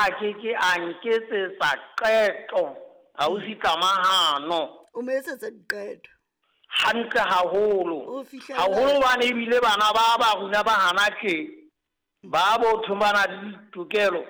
a ke ke a nketsetsa qeto ausi Tlamahano. O mo etsetsa diqeto. Hantle haholo. O fihlela- Haholo hobane ebile bana ba ba rona ba hana tje ba botho ba na le ditokelo.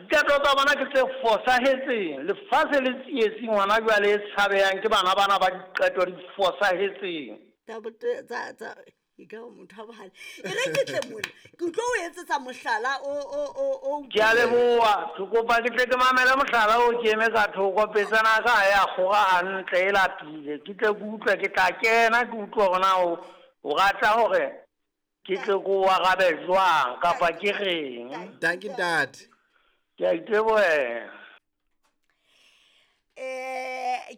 Diqeto tsa bona ke tse fosahetseng. Lefatshe le tsietsing hona jwale e tshabehang ke bana bana ba diqeto di fosahetseng. Tsa tsa tsa e ka ba motho a bohale. E re ke tle mona. Ke tlo o etsetsa mohlala o o o o Ke a leboha. Ke kopa ke tle ke mamele mohlala o ke eme ka thoko petsana ka ha ya kgora hantle e lapile. Ke tle ke utlwe ke tla kena ke utlwe hore na o o rata hore ke tle ke o arabe jwang kapa ke reng. Dankie ntate. Ke a itebohela.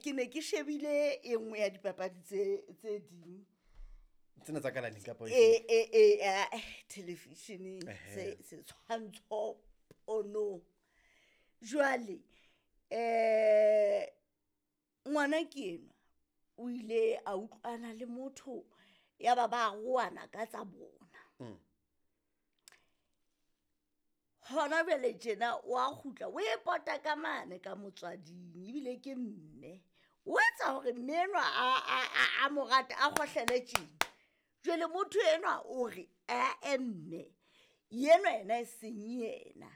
Ke ne ke shebile e nngwe ya dipapadi tse tse ding. Tsena tsa kalaneng kapa E e e television se setshwantsho pono. Jwale ngwana ke enwa o ile a utlwana le motho ya ba ba roana ka tsa bona. Hona jwale tjena wa kgutla o e pota ka mane ka motswading ebile ke mme. O etsa hore mme enwa a mo rate a kgohlele tjena. Jwale motho enwa o re ae mme enwa yena e seng yena.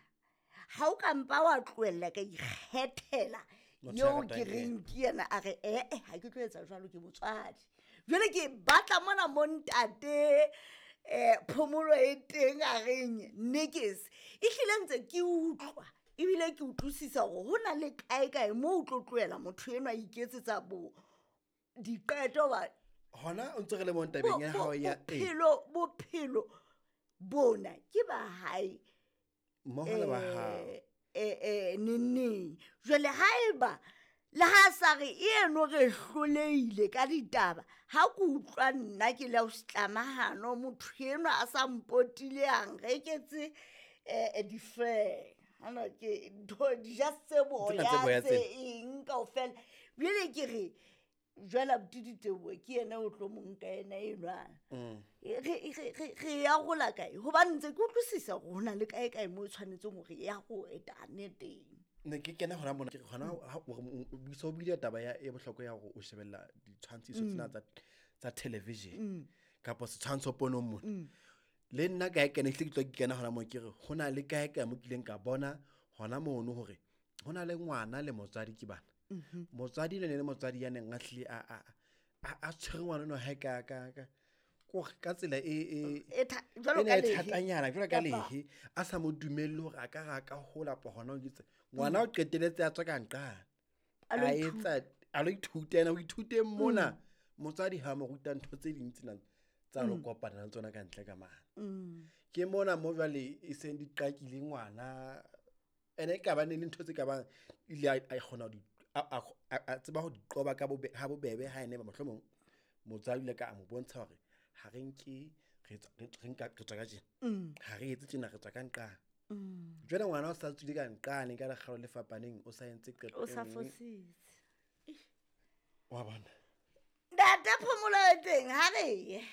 Ha o ka mpa wa tlohella ka ikgethela Motho ya eo ratang ke yena. reng ke yena a re ee ha ke tlo etsa jwalo ke motswadi. Jwale ke batla mona mo ntate phomolo e teng a reng nekes. Ehlile ntse ke utlwa ebile ke utlwisisa hore ho na le kae kae moo o tlo tlohela motho enwa a iketsetsa bo diqeto ba Hona o ntse re le mo tabeng ya hao ya e. Bophelo bophelo bona ke ba hae Mmoho le ba hao. Neneng. Jwale haeba le ha sa re eno re hlolehile ka ditaba ha ke utlwa nna ke le ausi Tlamahano motho enwa a sa mpotile a nreketse di-fur. Hana ke ntho di-just tse Tsena tse boya boya tse tsena. eng kaofela. Jwale ke re jwale abuti Diteboho ke yena o tlo mo nka yena enwa. Re ya rola kae? Hobane ntse ke utlwisisa hore ho na le kae kae moo e tshwanetseng hore ya go etane teng. Ne ke kena hona mona ke re hona ha o re o so buile taba ya e bohlokwa ya hore o shebella ditshwantshiso tsena tsa television kapa setshwantsho ponong mona. Le nna kae kene ehlile ke tlo ke kena hona moo ke re ho na le kae kae mo kileng ka bona hona mono hore ho na le ngwana le motswadi ke bana. Motswadi le ne le motswadi ya neng a hlile a tshwere ngwana enwa hae ka ka ka kore ka tsela e e E jwalo e ne ka e lehe. thatanyana jwalo ka Kapa lehe a sa mo dumelle hore a ka ra ka hola pa hona ho itse ngwana o qetelletse a tswa ka nqane. A lo A ithuta. etsa a lo ithuta yena o ithuteng mona. Motswadi ha mo ruta ntho tse ding tsena tsa lo kopana le tsona ka ntle ka mane. Ke mona mo jwale e seng di qakile ngwana ene e ka ba ne le ntho tse ka bang ile a kgona ho di a tseba ho di qoba ka ha bobebe ha ene ba mohlomong motswadi o ile ka a mo bontsha hore ha re nke re tswa re nka re tswa ka tjena. Ha re etse tjena re tswa ka nqane. Jwale ngwana o sa tswile ka nqane ka lekgalo le fapaneng o sa entse qeto O e sa nngwe. fositse. Wa bona. Ntate phomolo e teng ha re ye.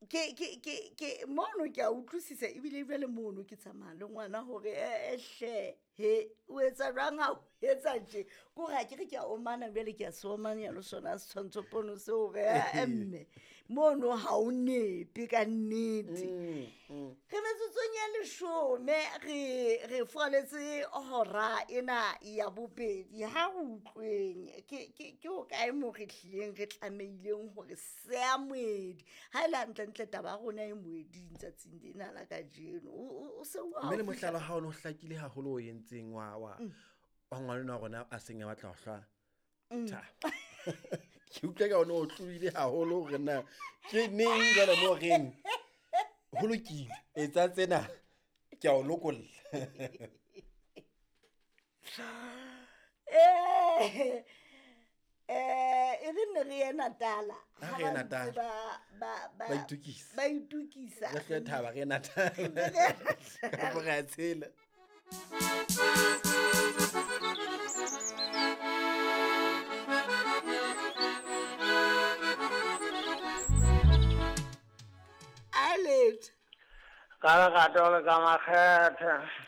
Ke mono ke a utlwisisa ebile jwale mono ke tsamaya le ngwana hore hle he o etsa jwang ha o etsa tje. Ke hore ha ke re ke a omana jwale ke a se omanya le sona setshwantsho pono seo hore mme mono ha o nepe ka nnete. Re metsotsong ya 10 re furaletse hora ena ya bobedi. Ha re utlweng ke ho kae moo re hlileng re tlamehileng hore seya moedi. Ha e le hantlentle taba ya rona e moeding tsatsing lena la kajeno. O se o Mme le haufi mohlala ha o no hlakile haholo o entseng wa wa ngwana enwa wa rona a seng a batla ho hlwa thaba. Ke utlwa ka ona o tlohile haholo hore na ke neng jwale moo reng ho lokile etsa tsena ke a o lokolla. E re nne re ye Natala. Ha Ha re ye ba Natala. ntse Ba itokisa. ba itokisa. Re hlwe thaba re ye Natala. Re ye Natala. Kapo re a tshela. A letho. Ka lerato le ka makgethe.